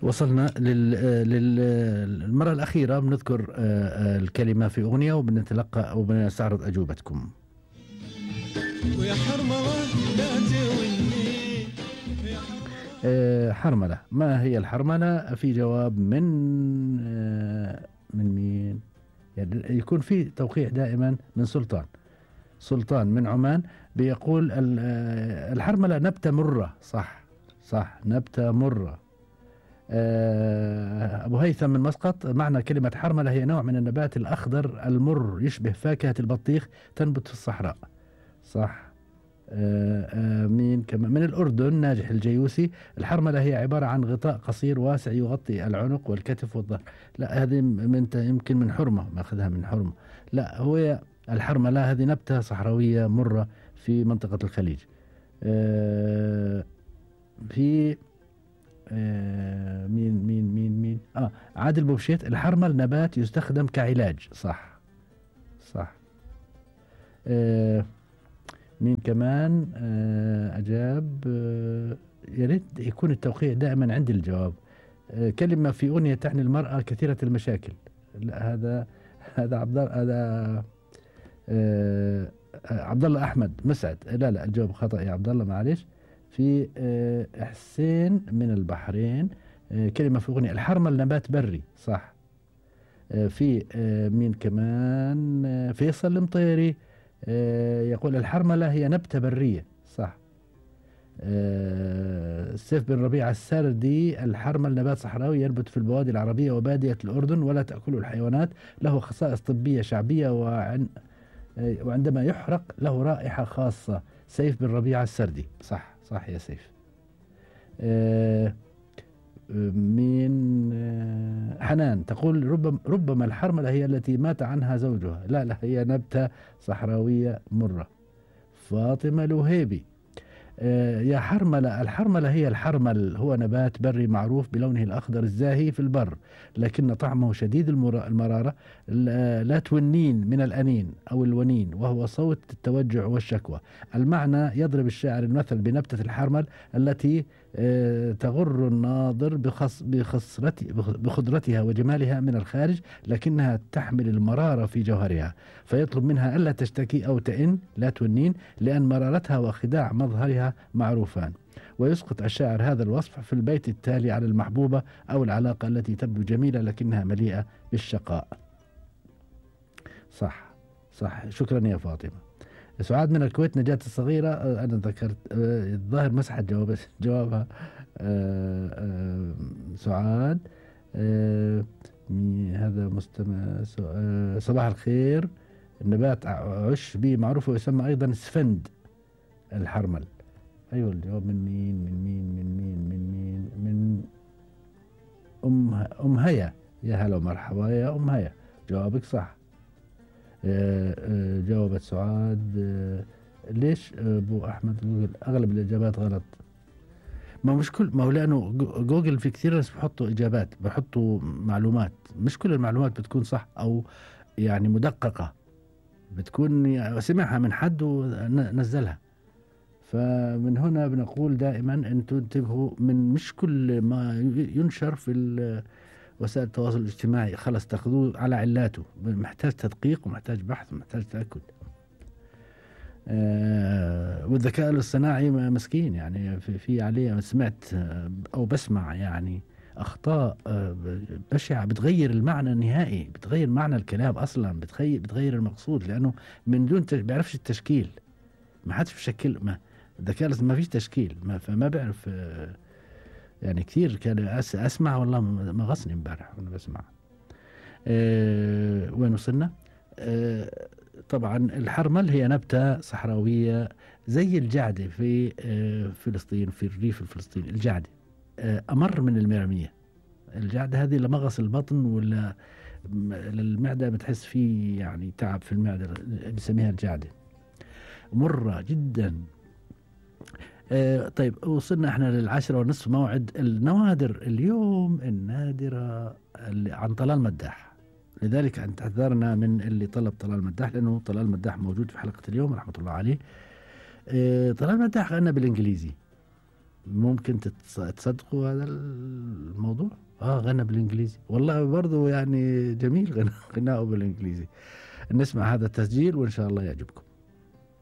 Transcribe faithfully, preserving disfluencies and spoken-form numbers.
وصلنا لل... للمرة الأخيرة بنذكر الكلمة في أغنية وبنتلقى وبنستعرض أجوبتكم. ويا حرملة لا توني حرملة، ما هي الحرملة؟ في جواب من من مين؟ يعني يكون في توقيع دائما من سلطان سلطان من عمان، بيقول الحرملة نبتة مرة. صح صح نبتة مرة. أبو هيثم من مسقط، معنى كلمة حرملة هي نوع من النبات الأخضر المر يشبه فاكهة البطيخ، تنبت في الصحراء. صح. آآ آآ مين كمان من الأردن؟ ناجح الجيوسي، الحرملة هي عبارة عن غطاء قصير واسع يغطي العنق والكتف والظهر. لا هذه من يمكن من حرمة، ماخذها من حرمة. لا هو الحرملة هذه نبتة صحراوية مرة في منطقة الخليج. في مين مين مين مين آه عادل بوبشيت، الحرمل نبات يستخدم كعلاج. صح صح. آه مين كمان آه أجاب؟ آه يا ريت يكون التوقيع دائما عند الجواب. آه كلمة في أغنية تعني المرأة كثيرة المشاكل. لا هذا هذا عبد هذا آه عبد الله أحمد مسعد. لا لا الجواب خطأ يا عبد الله، معلش. في آه حسين من البحرين، آه كلمة في أغنية الحرمل نبات بري. صح. آه في آه مين كمان؟ آه فيصل المطيري، آه يقول الحرملة هي نبتة برية. صح. آه سيف بن ربيع السردي، الحرمل نبات صحراوي ينبت في البوادي العربية وبادية الأردن ولا تأكله الحيوانات، له خصائص طبية شعبية وعن آه وعندما يحرق له رائحة خاصة. سيف بن ربيع السردي. صح صح يا سيف. آه مين؟ آه حنان تقول ربما, ربما الحرملة هي التي مات عنها زوجها. لا لا هي نبتة صحراوية مرة. فاطمة الوهيبي، آه يا حرملة، الحرملة هي الحرمل، هو نبات بري معروف بلونه الأخضر الزاهي في البر، لكن طعمه شديد المرارة، لا تونين من الأنين أو الونين، وهو صوت التوجع والشكوى. المعنى يضرب الشاعر المثل بنبتة الحرمل التي آه تغر الناظر بخص بخضرتها وجمالها من الخارج، لكنها تحمل المرارة في جوهرها، فيطلب منها ألا تشتكي أو تئن، لا تونين، لأن مرارتها وخداع مظهرها معروفان. ويسقط الشاعر هذا الوصف في البيت التالي على المحبوبة أو العلاقة التي تبدو جميلة لكنها مليئة بالشقاء. صح صح. شكرا يا فاطمة. سعاد من الكويت، نجاة الصغيرة، أنا ذكرت الظاهر مسحت جواب جوابها. سعاد. هذا مستمع. صباح الخير، النبات عشبي معروف ويسمى أيضا سفند الحرمل. أيوة الجواب من مين من مين من مين من مين من أم أم هيا. يا هلا ومرحبا يا أم هيا، جوابك صح. جاوبت سعاد. ليش أبو أحمد جوجل أغلب الإجابات غلط؟ ما مش كل ما هو لأنه جوجل في كثير ناس بحطوا إجابات، بحطوا معلومات، مش كل المعلومات بتكون صح أو يعني مدققة، بتكون يعني سمعها من حد ونزلها. فمن هنا بنقول دائما أنتم انتبهوا من مش كل ما ينشر في وسائل التواصل الاجتماعي خلص تاخذوه على علاته، محتاج تدقيق ومحتاج بحث ومحتاج تأكد. آه والذكاء الاصطناعي مسكين يعني في, في عليه سمعت أو بسمع يعني أخطاء بشعة بتغير المعنى النهائي، بتغير معنى الكلام أصلا، بتغير بتغير المقصود، لأنه من دون بيعرفش التشكيل، ما حدش بشكل ما الذكاء ما فيش تشكيل، ما فما بيعرف. يعني كثير كان أس أسمع والله ما غصني امبارح وأنا بسمع. أه وين وصلنا؟ أه طبعا الحرمل هي نبتة صحراوية زي الجعدة في أه فلسطين، في الريف الفلسطيني. الجعدة أه أمر من المرمية. الجعدة هذه لمغص البطن ولا للمعدة بتحس فيه يعني تعب في المعدة، بسميها الجعدة، مرة جدا. آه طيب وصلنا احنا للعشرة ونصف، موعد النوادر اليوم النادرة عن طلال مداح، لذلك انتظرنا من اللي طلب طلال مداح، لأنه طلال مداح موجود في حلقة اليوم رحمة الله عليه. آه طلال مداح غنى بالإنجليزي، ممكن تتص- تصدقوا هذا الموضوع. اه غنى بالانجليزي، والله برضو يعني جميل غنى غناؤه بالانجليزي. نسمع هذا التسجيل وان شاء الله يعجبكم.